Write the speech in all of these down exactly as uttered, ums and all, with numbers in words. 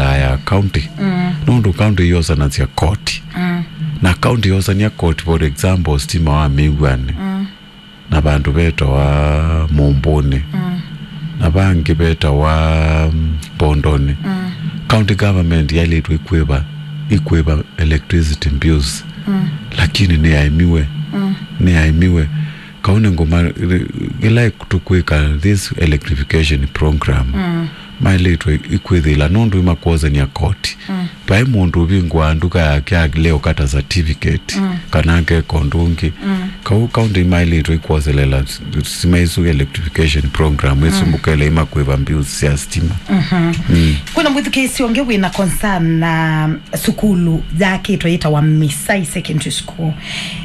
ya county. Mm. Nũndũ county yosanasya koti. Mm. Na county yosania koti, for example, stima wa Mĩw'anĩ. Mm. Na vandũ vetawa Mũmbũnĩ. Mm. Na vangĩ vetawa, mm, Mbondonĩ. Mm. County government yaĩlĩtwe ikwĩva, ikwĩva electricity bills. Mm. Lakini nĩyaemiwe. Mm. Nĩyaemiwe. Kau nĩ ngũma, ĩla tũkwĩka this electrification program, mm, maĩlĩtwe ikwĩthĩla nũndũ imakwosania koti. Mm. Vai mũndũ ũvingũaa nduka yake alea ũkata certificate, mm, kana akeka ũndũ ũngĩ. Mm. Kau county imaĩlĩtwe ikwoselela s-, stima isu electrification program ĩsu, mm, mũkele imakwĩva bills sya stima. Mhm. Mm. Kwĩna mwĩthukĩĩsyo ũngĩ wĩna concern na sukulu yakĩtwe yĩtawa Misai Secondary School.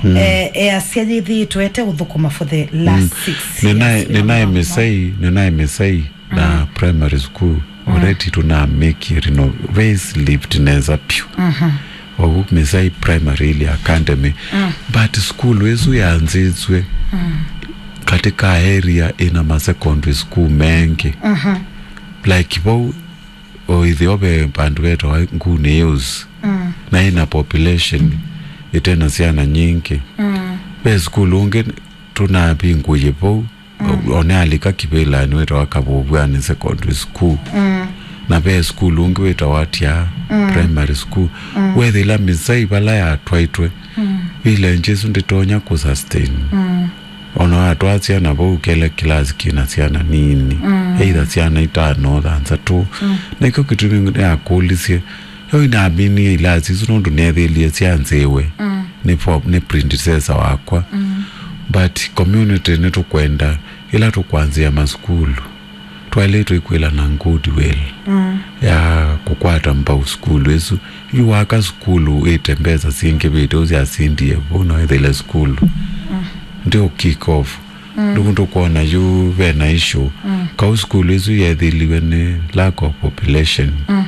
Mm. Eh, easya yĩthĩĩtwe ĩte ũthũkũma for the last, mm, six years. Nĩnaĩ, nĩnaĩ Misai, nĩnaĩ Misai na, mm, primary school. Mm. Already tũnamĩkie reno-, facelift nesa vyũ. Mhm. Ogu Misai Primary Hill Academy. Mm. But school ĩsu yanzĩtw'e, mm, katika area ĩna ma secondary school mengĩ. Mhm. Like vau, o ĩtheo ve vandũ vetawa Nguni Hills. Mm. Na ĩna population ĩtena syana nyingĩ. Mm. Ve school ũngĩ tũnavingũie vau, mm, o-, one alika kĩvĩlanĩ wĩtawa Kavũvw'anĩ Secondary School. Mm. Na ve school ũngĩ wĩtawa Atyaa, mm, Primary School. Mm. Wethĩla Misai vala yatwaĩtwe, mm, village ĩsu ndĩtonya kũsustain. Mm. Ona watwaa syana vau kĩla kĩlasi kĩna syana nini, mm, either syana itano, thanthatũ. Mm. Na ĩkyo kĩtumi nĩyakũlisye, yo inaminie ilasi isu nũndũ neethĩlie syanzĩwe, mm, nĩ for-, nĩ predecessor wakwa. Mm. But community nĩtũkwenda, ĩla tũkwanzĩa masukulu, twaĩlĩtwe kwĩlana goodwill, mm, ya kũkwata mbau sukulu ĩsu. Yu waka sukulu wĩte mbesa syingĩvĩte ũsyasindie vau no ĩthĩle sukulu. Mm. Ndio kick off. Mm. Nũndũ tũkwona yu vena issue. Mm. Kau sukulu ĩsu yethĩliwe nĩ lack of population. Mm.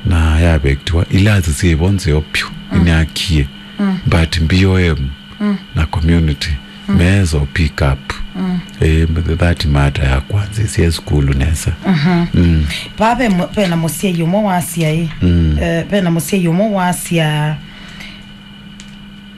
Na yaavektiwa. Ilasi syĩvo nzeo vyũ. Mm. Nĩnyakie. Mm. But B O M, mm, na community, mm, meesa pick up. Mm. Eh, that matter ya kwanzĩsya sukulu nesa. Mhm. Mm. Vaa ve mu-, vena mũsyai ũmwe wasya ĩ. Mm. Eh, vena mũsyai ũmwe wasya,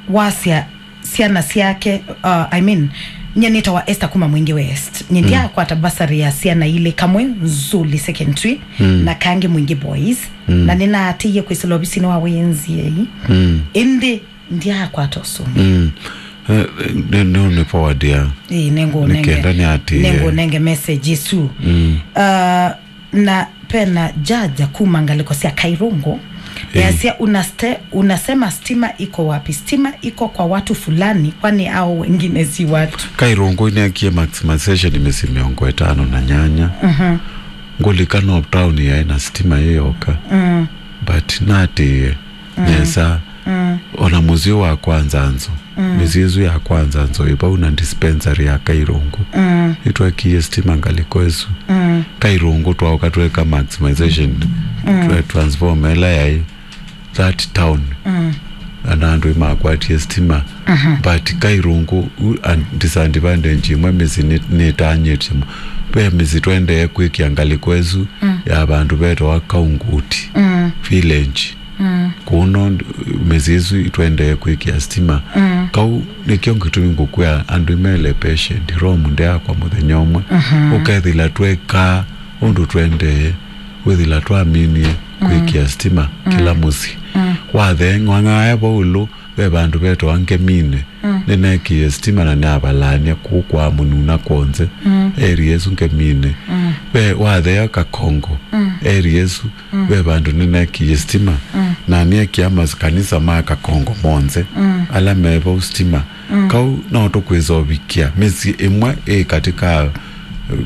wasya syana syake, uh, I mean, nye nĩtawa Esther kuma Mwingi West. Nye, mm, ndyakwata bursary ya syana ilĩ, kamwe Nzuli Secondary, mm, na kangĩ Mwingi Boys. Mm. Na nĩnaatĩie kwĩsĩla ovisinĩ wa wĩnziei. Mm. Ĩndĩ ndyaakwata ũsũngĩo. Mm. Eh, nĩ, nĩ, nĩ forward ya. Ĩĩ, nĩngũnenge, nĩkenda nĩatĩĩe, nĩngũnenge message ĩsu. Mm. Uh, na vena Jaja kuma ngalĩko sya Kairũngũ. Ĩĩ. Yasya, "Unaste-, unasema stima iko wapi? Stima iko kwa watu fulani, kwani hao wengine si watu?" Kairũngũ nĩekie maximization mĩsyĩ mĩongo ĩtano na nyanya. Mhm. Ngũlika no town yaĩ na stima ĩyoka. Mm. But natĩĩe, mm, nesa. Mm. Ona mũsyĩ wa kwanza nzo. Mm. Mĩsyĩ ĩsu ya kwanza nzo ĩ vau na dispensary ya Kairũngũ. Mm. Nĩtwekie stima ngalĩko ĩsu. Mm. Kairũngũ twaũka tweka maximization. Mm. Twe transformer ĩla yaĩ that town. Mm. Na andũ nĩmakwatie stima. Mhm. But Kairũngũ, u-, an-, disadvantage ĩmwe mĩsyĩ nĩ, nĩtanyĩtye mu-, ve mĩsyĩ twaendee kwĩkĩa ngalĩko ĩsu, mm, ya vandũ vetawa Kaunguti, mm, village. Mm. Kũno mĩsyĩ ĩsu itwendee kwĩkĩa stima. Mm. Kau nĩkyo kĩtumi ngũkwĩa andũ mele patient, Rome ndeakwa mũthenya ũmwe. Mhm. Ũkethĩla twekaa ũndũ twendee, wĩthĩla twaminie, mm, kwĩkĩa stima, mm, kĩla mũsyĩ. Mm. Wathee ng'ang'aya vau ĩũlũ, ve vandũ vetawa Ngeminĩ. Mm. Nĩnekie stima na nĩavalaany'a kũu kwa mũnuna kwonze. Mm. Area ĩsu Ngeminĩ. Mm. Ve wathea Kakongo. Mm. Area ĩsu. Mm. Ve vandũ nĩnekie stima. Mm. Na nĩekia makanisa ma Kakongo monthe. Mm. Ala me vau stima. Mm. Kau no tũkwĩsa ũvikĩa mĩsyĩ ĩmwe ĩ katika,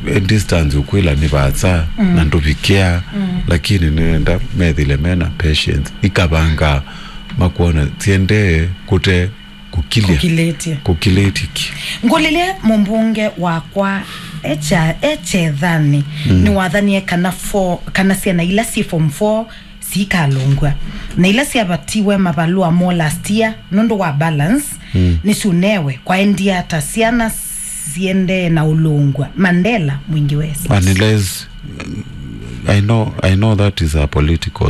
eh, distance ũkwĩla nĩ vaasa, mm, na ndũvikĩa, mm, lakini nĩenda methĩle mena patience. Ikavanga makwona siendee kũte kũkilya. Kũkilĩtye. Kũkilĩtye ki. Ngũlĩlye mũmbunge wakwa echa-, echethanĩ, mm, nĩwathanie kana fo-, kana syana ila syĩ form four sikalũngw'a. Na ila syavatiwe mavalũa mo last year nũndũ wa balance, mm, nĩsyũnewe. Kwaendie ata syana siendee na ũlũngw'a? Mandela, Mwingi West. Unless, I know, I know that is a political